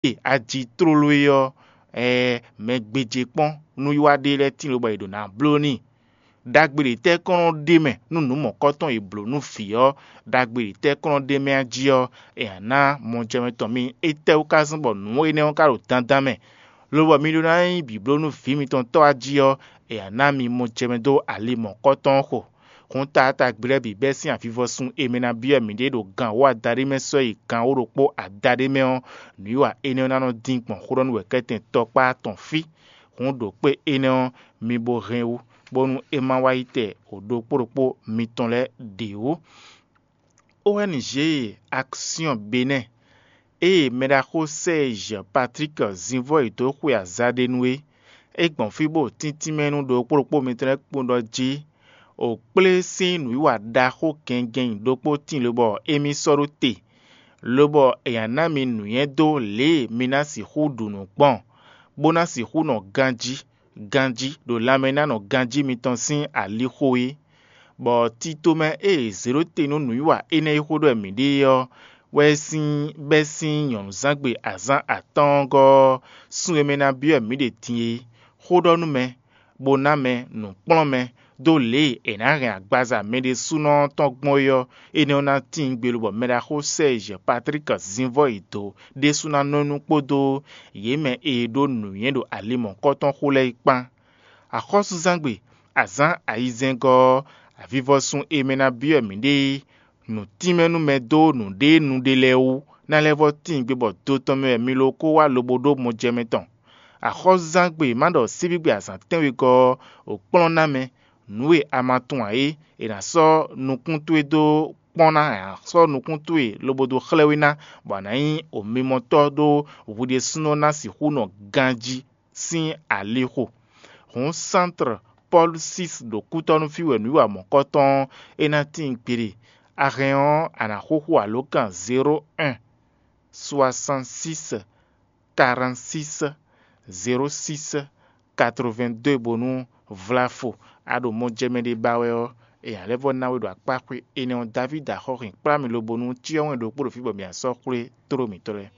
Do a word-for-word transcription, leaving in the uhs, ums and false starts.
E aji tlóló é ɔ́, ɛɛ mɛ gbéjé kpɔ́n nú yi wá ɖe lɛ́ɛ tíin lobɔ è ɖǒ ná bló n'i. Ɖagbe ɖě tɛ́ kɔn nɔ ɖe mɛ nú nǔ mɔ̌kɔtɔn e blǒ nú vǐ ɔ́, ɖagbe ɖě tɛ́ kɔn nɔ ɖe mɛ a jí ɔ́, è nǎ ná mɔjɛmɛ tɔn mi. Étɛ́wú ka zɔ́n bɔ nǔ énɛ́ ɔ́ ka ɖo dandan mɛ, lobɔ mi ɖó ná nyí bǐbló nú vǐ mitɔn tɔ́ a jí ɔ́, è nǎ ná mi mɔjɛmɛ dó ali mɔ̌kɔtɔn ɔ́ xo. Hǔn taatagbe lɛ́ɛ bǐ bɛ́ sín avivɔsun e mɛ ná byɔ́ mǐɖée ɖo gan wǒ adaɖé mɛ sɔ́ yi gan wǒ ɖokpó adaɖé mɛ ɔ́, nǔwiwa énɛ́ ɔ́ ná nɔ dín gbɔn xó ɖɔ nú wɛ̌kɛ́tɛn tɔkpá tɔn fí. Hǔn ɖo kpé énɛ́ ɔ́, mi bo hɛn wú, bónú é má wá yi tɛ o ɖokpó ɖokpó mitɔn lɛ́ɛ ɖě wú. O N G Action Benin, ée mɛɖaxó Serge Patrick Zinvɔ́ yi dó xwe aza ɖé nu é, é gbɔn fí bó tíntín mɛ nú ɖokpó ɖokpó mitɔn lɛ́ɛ kpowun ɖɔ jí, o kplé sín nǔwiwa ɖaxó gɛngɛn nyi ɖokpó tíin lobɔ émí sɔ́ ɖó te, lobɔ è nǎ ná mi nǔnywɛ́ dó lě e mi ná sixú ɖu nǔ gbɔn, bó ná sixú nɔ ganjí ganjí ɖo lanmɛnánɔ ganjí mitɔn sín alixo é. Bɔ tito mɛ e è zě ɖó te nú nǔwiwa énɛ́ e xó ɖɔ wɛ mǐ ɖe é ɔ́, wɛ sín bɛ́ sín nyɔ̌nuzángbe azǎn atɔ́ɔ́ngɔ́ ɔ́, sun e mɛ ná byɔ́ wɛ mǐ ɖe din é, xó ɖɔ nú mɛ, bó ná mɛ nǔkplɔ́nmɛ dó lě e è nǎ hɛn agbaza mɛ ɖésúnɔ ɔ́ tɔn gbɔn é ɔ́, énɛ́ ɔ́ ná tíin gbe lobɔ mɛɖaxó Sɛ́ɛzyi Patlík Zinvɔ́yi dó ɖésú ná nɔ nú kpódó yě mɛ e ɖó nǔnywɛ́ ɖo ali mɔ̌hunkɔtɔn xo lɛ́ɛ é kpán. Axɔ́súzángbe, azǎn ayizɛ́ngɔ́ ɔ́, avivɔsun e mɛ ná byɔ́ mǐɖée é, nǔtínmɛnúmɛ dó nǔɖénu ɖé lɛ́ɛ wú ná lɛ́ vɔ́ tíin gbe bɔ do tɔn mɛ wɛ mi ló kó wá lobo ɖó mɔjɛmɛ tɔn. Axɔ́súzángbe ma ɖɔ síbígbe azǎn tɛ́nwegɔ́ ɔ́, wǒ kplɔ́n ná mɛ, nǔ e a ma tunwun ǎ é, è nǎ sɔ́ nukún towe dó kpɔ́n ná, è nǎ sɔ́ nukún towe lobo dó xlɛ́ we ná, bɔ a nǎ nyí omimɔtɔ́ ɖó hwi ɖésúnɔ ná sixú nɔ ganjí sín alixo. Hǔn sántre Pɔ́lu six ɖo kútɔ́nú fí wɛ nǔwiwa mɔ̌kɔtɔn ɔ́, é ná tíin kpiɖe. A hɛn ɔ́, a nǎ xúxú alǒkan zéro un, soixante six, quarante six, zéro six, quatre vingt deux bónú vlafo a ɖo mɔjɛmɛ ɖé ba wɛ ɔ́, è nǎ lɛ́ vɔ́ ná we ɖo akpá xwé énɛ́ ɔ́. Davídi axɔ́ hɛn kplá mi lobo nú cyɔ́ wɛn ɖokpó ɖo fí bɔ mǐ ná sɔ́ xwlé tló mǐtɔn lɛ́ɛ.